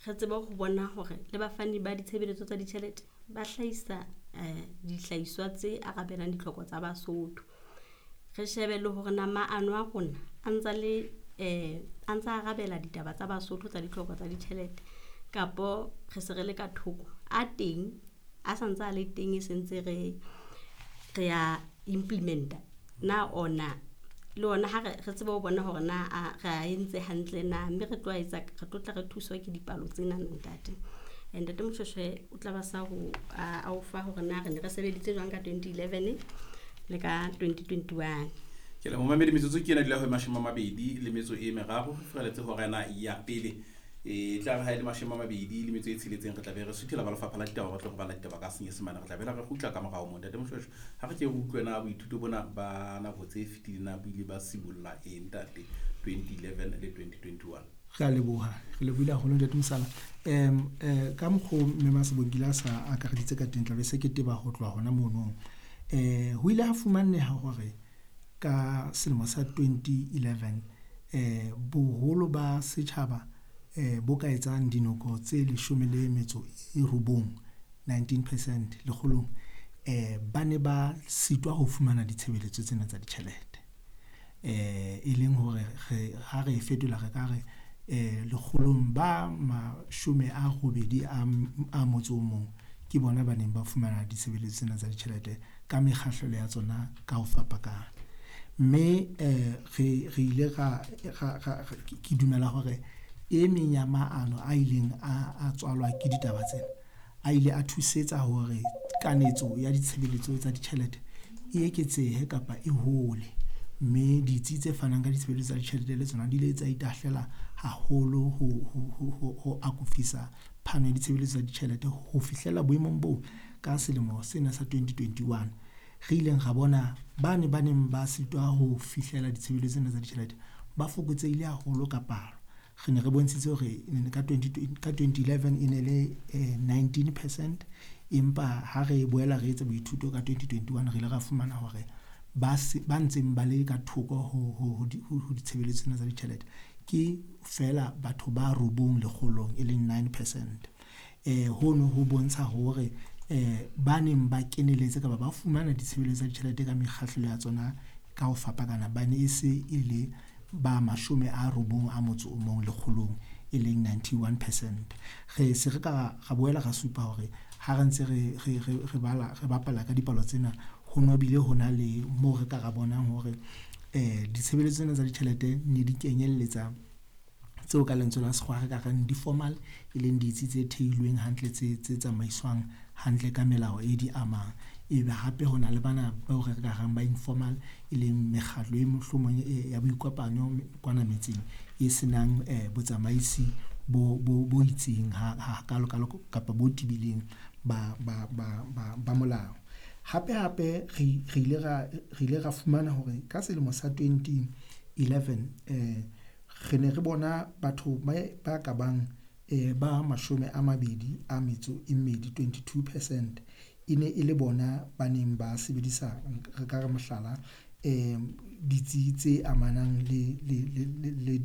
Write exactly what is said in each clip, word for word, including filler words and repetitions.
Re tsebe ho bona hore le bafani ba ditshebeletso tsa ditjhelete ba hlahisa um dihlahiswa tse arabelang ditlhoko tsa Basotho. Re shebe le hore na maano a rona a ntsa le um a ntsa arabela ditaba tsa Basotho tsa ditlhoko tsa ditjhelete kapo re se re le ka thoko. A teng a santse a le teng e sentse re re a implementa na ona le ona ha re re tsebe ho bona hore na a re a entse hantle na, mme re tlo a etsa re tlo tla re thuswa ke dipalo tsena ntate. Ntate Moshweshwe o tla ba sa ho a o fa hore na re ne re sebeditse jwang ka twenty eleven le ka twenty twenty-one. Ke le momamedi metsotso ke ena dula ho mashome a mabedi le metso e meraro re furaletse hora ena ya pele. E tla re ha e le mashome a mabedi le metso e tsheletseng re tla be re suthela ba lefapha la ditaba ba tlo go bala ditaba ka Senyesemane re tla be re kgutla ka morao moo. Ntate Moshweshwe, ha re ke re utlwe na boithuto bona ba nako tse fetileng na bo ile ba sibolla eng ntate twenty eleven le twenty twenty-one? Re a leboha, re lebohile haholo ntate Mosala. Um eh ka mokgo mme Masebongile a sa akareditse ka teng tla be se ke teba ho tloha hona mono. Eh ho ile ha fumaneha hore ka selemo sa twenty eleven eh boholo ba setjhaba eh bo ka etsang dinoko tse leshome le metso e robong nineteen percent lekgolong eh ba ne ba sitwa ho fumana ditshebeletso tsena tsa ditjhelete. Eh e leng hore re ha re fetola re ka re eh lekgolong ba mashome a robedi a a motso o mong ke bona ba neng ba fumana ditshebeletso tsena tsa ditjhelete ka mekgahlelo ya tsona ka ho fapakana. Mme eh re re ile ra ra ke dumela hore e meng ya maano a ileng a a tswalwa ke ditaba tsena a ile a thusetsa hore kanetso ya ditshebeletso tsa ditjhelete e eketsehe kapa e hole, mme ditsi tse fanang ka ditshebeletso tsa ditjhelete le tsona di ile tsa itahlela haholo ho ho ho ho akofisa phano ya ditshebeletso tsa ditjhelete ho fihlela boemong boo ka selemo sena sa twenty twenty-one re ileng ra bona bane ba neng ba sitwa ho fihlela ditshebeletso tsena tsa ditjhelete ba fokotsehile haholo ka palo. Re ne re bontshitse hore ka twenty ka twenty eleven e ne le nineteen percent, empa ha re boela re etsa boithuto ka twenty twenty-one re ile ra fumana hore ba ba ntseng ba le ka thoko ho ho ho ditshebeletso tsena tsa ditjhelete ke feela batho ba robong lekgolong e leng nine percent. Eh hono ho bontsha hore eh ba neng ba keneletse kapa ba fumana ditshebeletso tsa ditjhelete ka mekgahlelo ya tsona ka ho fapakana ba ne e se e le ba mashome a robong a motso o mong lekgolong e leng ninety-one percent. Re se re ka ra boela ra supa hore ha re ntse re re re bala re bapala ka dipalo tsena ho no bile ho na le moo re ka ra bonang hore eh ditshebeletso tsena tsa ditjhelete ne di kenyelletsa tseo ka lentswe la sekgowa re ka reng di formal e leng ditsi tse theilweng hantle tse tse tsamaiswang hantle ka melao e di amang. Ebe hape ho na le bana bao re ka reng ba informal e leng mekgatlo e mohlomong ya boikopanyo kwana metseng e senang eh botsamaisi bo bo bo itseng ha ha kalo kalo kapa bo tibileng ba ba ba ba ba molao. Hape hape re re ile ra re ile ra fumana hore ka selemo sa twenty eleven eh re ne re bona batho ba ba ka bang eh ba mashome a mabedi a metso e mmedi twenty-two percent e ne e le bona ba neng ba sebedisa re ka re mohlala eh ditsi tse amanang le le le le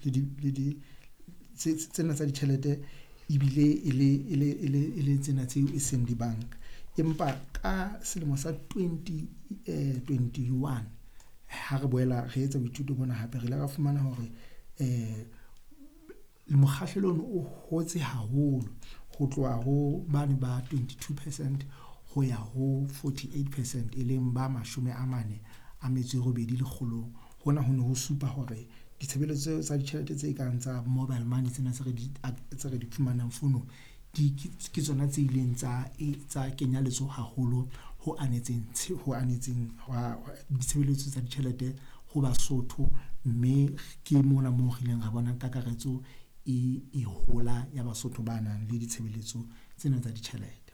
le le di tsena tsa ditjhelete ebile e le e le e le e le tsena tseo e seng dibanka. Empa ka selemo sa twenty twenty-one ha re boela re etsa boithuto bona hape re ile ra fumana hore eh mokgahlelo ono o hotse haholo ho tloha ho bane ba twenty-two percent ho ya ho forty-eight percent e leng ba mashome a mane a metso e robedi lekgolong. Hona ho ne ho supa hore ditshebeletso tsa ditjhelete tse kang tsa mobile money tsena tse re di tse re di fumanang founung di ke tsona tse ileng tsa tsa kenya letsoho haholo ho anetseng ho anetseng ditshebeletso tsa ditjhelete ho Basotho, mme ke mona moo re ileng ra bona kakaretso e e hola ya Basotho ba nang le ditshebeletso tsena tsa ditjhelete.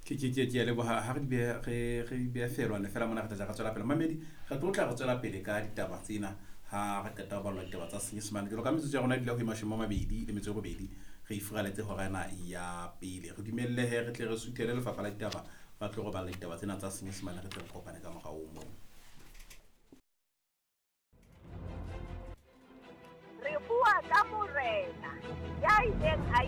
Ke ke ke ke a leboha ha re di beha re re di beha feelwane fela mona re tla re tswela pele. Mamedi re tlo tla re tswela pele ka ditaba tsena ha re qeta ho bala ditaba tsa Senyesemane. Jwalo ka metsotso ya rona e dula ho e mashome a mabedi le metso e robedi re ifuraletse hora ena ya pele. Re dumelle he re tle re suthele lefapha la ditaba ba tlo re balla ditaba tsena tsa Senyesemane re tle re kopane ka morao moo. Re bua ka morena ya ileng a